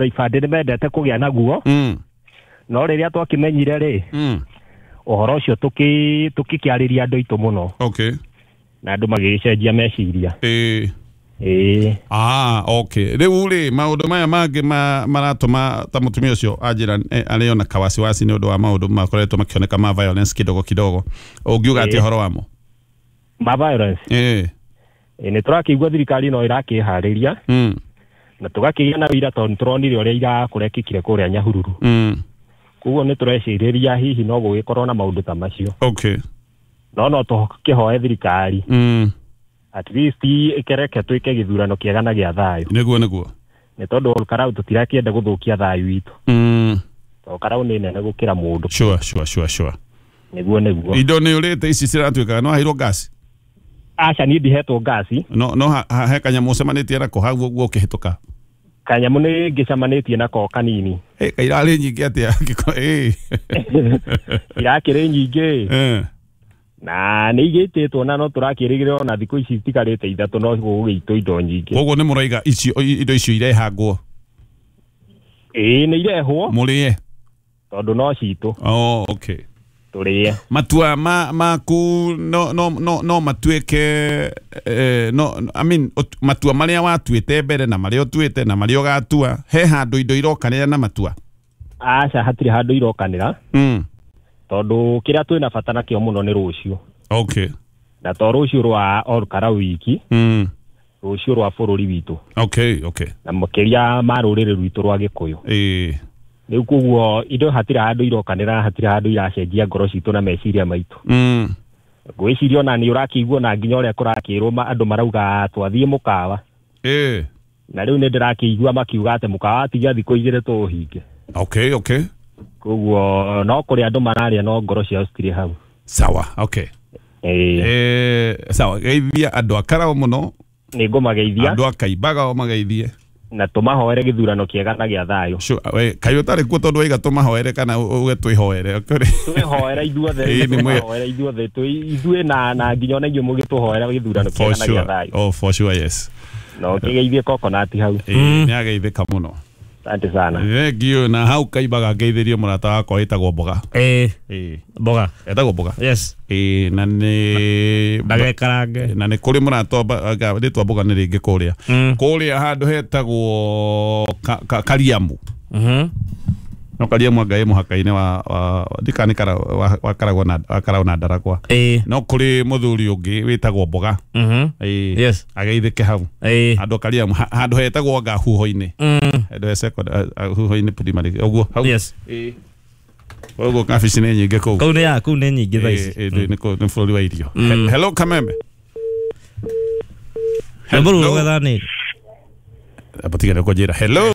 Ibandĩ nĩ mendete kũgĩa naguo. No rĩrĩa twakĩmenyire rĩ, ũhoro ũcio tũkĩkĩarĩria andũ aitũ mũno. Na andũ magĩgĩcenjia meciria. Ĩĩ. Ah, okay. Rĩu rĩ, maũndũ maya mangĩ maratũma ta mũtumia ũcio anjĩra arĩ ona kawasiwasi nĩ ũndũ wa maũndũ makoretwo makĩoneka ma violence kidogo kidogo. Ũngiuga atĩa ũhoro wamo? Ma violence? Ĩĩ. Nĩ tũrakĩigua thirikari no ĩrakĩharĩria. Na tũgakĩgĩa na wĩira tondũ nĩtũronire ũrĩa irakũrekĩkire kũrĩa Nyahururu. Koguo nĩ tũrecirĩria hihi no gũgĩkorwo na maũndũ ta macio. No no tũkĩhoe thirikari. At least ĩkereke twĩke gĩthurano kĩega na gĩa thayũ. Nĩguo nĩguo. Nĩ tondũ Olkarau tũtirakĩenda gũthũkia thayũ witũ. Tondũ Karau nĩ nene gũkĩra mũndũ. Sure, sure, sure, sure. Nĩguo nĩguo. Indo nĩ ũrĩte ici ciratuĩkaga no aheirwo ngasi? Aca, niĩ ndihetwo ngasi. No no he kanyamũ ũcemanĩtie nako hau ũguo ũkĩhĩtũka? Kanyamũ nĩ ngĩcemanĩtie nako kanini. Ĩ kairarĩ nyingĩ atĩa? Ĩ. Irakĩrĩ nyingĩ. Na nĩ igĩtĩtwo na no tũrakĩrĩgĩrĩra ona thikũ ici itikarĩte ithatũ no gũgĩitwo indo nyingĩ. Koguo nĩ mũraiga icio indo icio irehangwo? Ĩĩ, nĩ irehwo. Mũrĩe? Tondũ no citũ. Oh, okay. Tũrĩe. Matua maku no no no no matuĩke no, I mean, matua marĩa watuĩte mbere na marĩa ũtuĩte na marĩa ũgatua, he handũ indo irokanĩra na matua? Aca, hatirĩ handũ irokanĩra. Tondũ kĩrĩa twĩna bata nakĩo mũno nĩ rũciũ. Na to rũciũ rwa Olkarau wiki, rũciũ rwa bũrũri witũ. Na makĩria ma rũrĩrĩ rwitũ rwa Gĩkũyũ. Rĩu koguo indo hatirĩ handũ irokanĩra, hatirĩ handũ iracenjia ngoro citũ na meciria maitũ. Ngwĩciria ona nĩ ũrakĩigua na nginya ũrĩa kũrakĩrwo andũ marauga twathiĩ mũkawa. Na rĩu nĩ ndĩrakĩigua makiuga atĩ mũkawa atigia thikũ igĩrĩ tũũhinge. Koguo no kũrĩa andũ mararĩa no ngoro ciao citirĩ hau. Sawa, okay. Sawa, geithia andũ a Karau mũno. Nĩ ngũmageithia. Andũ a Kaimbaga o mageithie. Na tũmahoere gĩthurano kĩega na gĩa thayũ. Sure, we, kaĩ ũtarĩ kuo tondũ waiga tũmahoere kana uge twĩhoere? Twĩhoere ithuothe, tũmahoere ithuothe, ithuĩ na nginya ona inyuĩ mũgĩtũhoera gĩthurano kĩega na gĩa thayũ. Oh, for sure, yes. Na ũkĩgeithie coconut hau. Ĩĩ, nĩ ageithĩka mũno. Asante sana. Thank you. Na hau Kaimbaga ngeithĩrie mũrata wakwa wĩtagwo Mboga. Ĩĩ. Mboga. Etagwo Mboga. Yes. Ĩĩ, na nĩ ndagekarange. Na nĩ kũrĩ mũrata rĩtwa Mboga nĩ rĩngĩ kũrĩa. Kũrĩa handũ hetagwo Kariamu. No Kariamu anga ĩ mũhaka-inĩ wa ndikana wa Karagwo na wa Karau na Ndaragwa. No kũrĩ mũthuri ũngĩ wĩtagwo Mboga. Ĩĩ. Yes. Ageithĩke hau. Handũ Kariamu, handũ hetagwo anga huho-inĩ. Handũ he second huho-inĩ primary ũguo hau. Yes. Ĩĩ. Ũguo kabici nĩ nyingĩ kũu. Kũu nĩ ya, kũu nĩ nyingĩ thaa ici. Ĩĩ, nĩ bũrũri wa irio. Hello Kamembe. Rwĩmbo rũu rũgetha nĩ. Aba tiga nĩ kũnjĩra. Hello.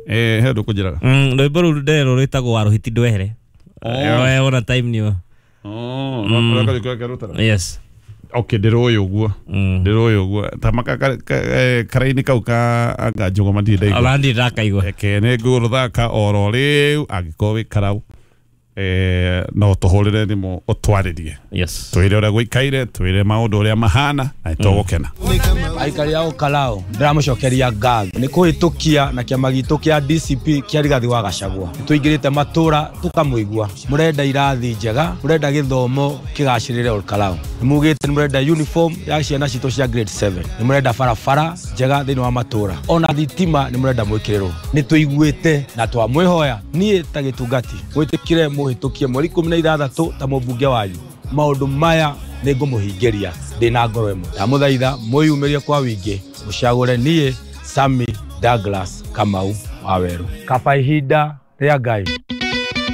He ndũkũnjĩraga. Rwĩmbo rũu nderwo rwĩtagwo wa rũhiti ndwehere. Wona time nĩyo. Oh, no rũtara. Yes. Okay, ndĩrũĩ ũguo. Ndĩrũĩ ũguo. Ta maka karaini kau ka anga njũgũma ndirĩ ndaigua. Ona ndirĩ ndakaigua. Reke nĩ ngũrũthaka oro rĩu angĩkorwo wĩ Karau. No tũhũrĩre thimũ ũtwarĩrie. Yes. Twĩre ũrĩa gũikaire, twĩre maũndũ ũrĩa mahana na nĩtũgũkena. Aikari a Olkarau ndĩramũcokeria ngatho nĩ kũhĩtũkia na kĩama gitũ kĩa DCP kĩa Rigathi wa Gachagua. Nĩtũingĩrĩte matũra tũkamũigua. Mũrenda irathi njega, mũrenda gĩthomo kĩgacĩrĩre Olkarau. Nĩmugĩte nĩmũrenda uniform ya ciana citũ cia grade 7. Nĩmũrenda barabara njega thĩinĩ wa matũra. Ona thitima nĩmũrenda mwĩkĩrĩrwo. Nĩtũiguĩte na twamwĩhoya niĩ ta gĩtungati mwĩtĩkĩre mũhĩtũkie mweri 16 ta mũmbunge wanyu. Maũndũ maya nĩ ngũmũhingĩria ndĩna ngoro ĩmwe. Ndamũthaitha mwĩyumĩrie kwa wĩingĩ mũcagũre niĩ Sammy Douglas Kamau wa Weru. Kaba ihinda rĩa Ngai.